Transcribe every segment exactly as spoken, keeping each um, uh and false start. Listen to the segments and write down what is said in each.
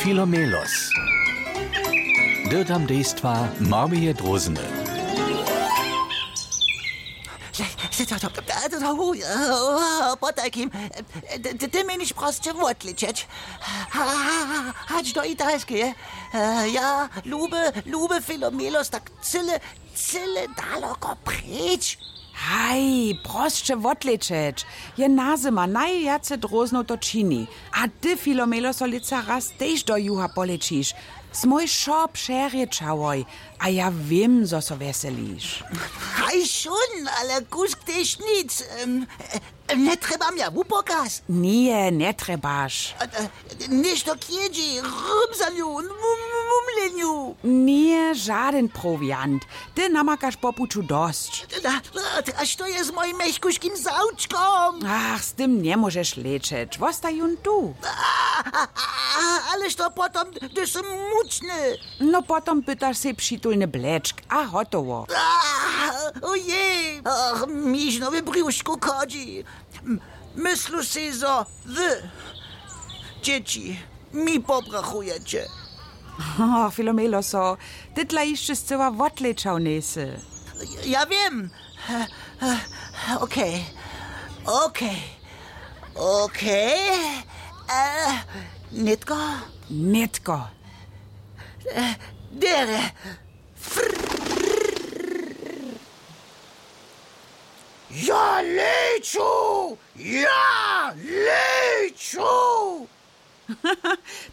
Filomelos. Dyrtam dejstwa Marmije Drózny. Potajkim, ty, ty měniš prosće wotličeć. Hač do Italskeje. Ja, lube, lube Filomelos, tak cyle, cyle daloko preč. Haj, prosće wotlećeć. Je nazyma najwjace dróznow to čini. A ty, Filomelo, so lětsa raz tež do juha polećiš. Smój wšo přerěčałoj. A ja wěm, zo so wjeseliš. Haj šón, ale kusk tež nic. Njetrjebam ja wupokaz. Nje, njetrjebaš. Něšto k jědźi, rymzanju, mumlenju. Nje, žadyn prowiant. Ty namakaš po puću dosć. A što je z mojim mjechkuškim zawčkom? Ach, z tym njemóžeš lećeć, wostaj jón tu. Ale što potom, hdyž sym mučny? No potom pytaš sej přitulny blečk a hotowo. Ojej, mižnowy brjušku chodźi. Myslu sej, zo wy, dźěći, mi pobrachujeće. Filomeloso, ty dla hišće scyła wotlećał njejsy. Ja wěm. Okej, okej, okej. Nětko? Nětko. Derje. Ja leću! Ja leću!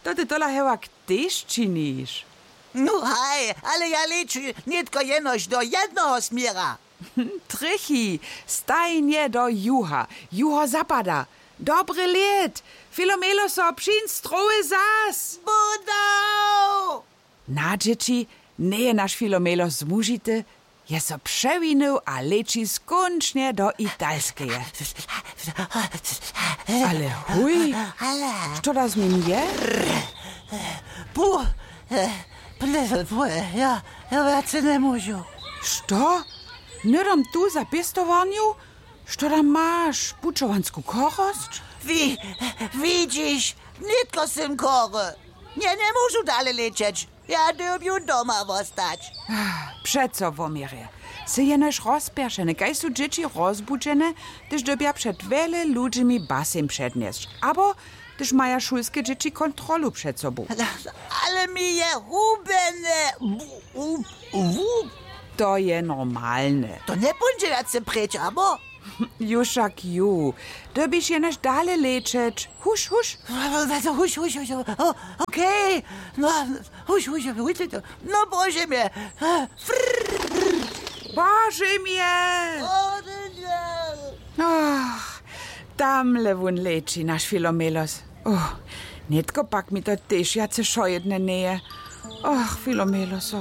To ty tola hewak tež činiš? No haj, ale ja leću nětko jenož do jednoho směra. Trjechi, stajnje do juha, juho zapada. Dobry lět. Filomeloso, přiń strowy zas. Budał. Na dźěći, njeje naš Filomelo zmužity, je so přewinył a leći skónčnje do Italskeje. Ale huj, što da z nim je? Pu, ple, pu, ja, ja wjace njemóžu. Što? Hnydom tu za pěstowarnju? Što tam maš, pućowansku chorosć? Wi, widźiš, nětko sym chory. Nje, njemóžu dale lećeć. Ja dyrbju doma wostać. Přeco, woměrje. Sy jenož rozpjeršeny, kaž su dźěći rozbudźene, hdyž dyrbja před wjele ludźimi baseń přednjesć, abo hdyž maja šulske dźěći kontrolu před sobu. Ale mi je hubjene. To je normalne. To njepóńdźe wjace preč, abo? Ju wšak ju. Dyrbiš jenož dale lećeć. Huš, huš. Huš, huš, huš. Okej. No, huš, huš, huš. No, bože mje. Bože mje. Ach, tamle wón leći, naš Filomelos. Oh, nětko pak mi to tež wjace wšojedne njeje. Ach, Filomeloso.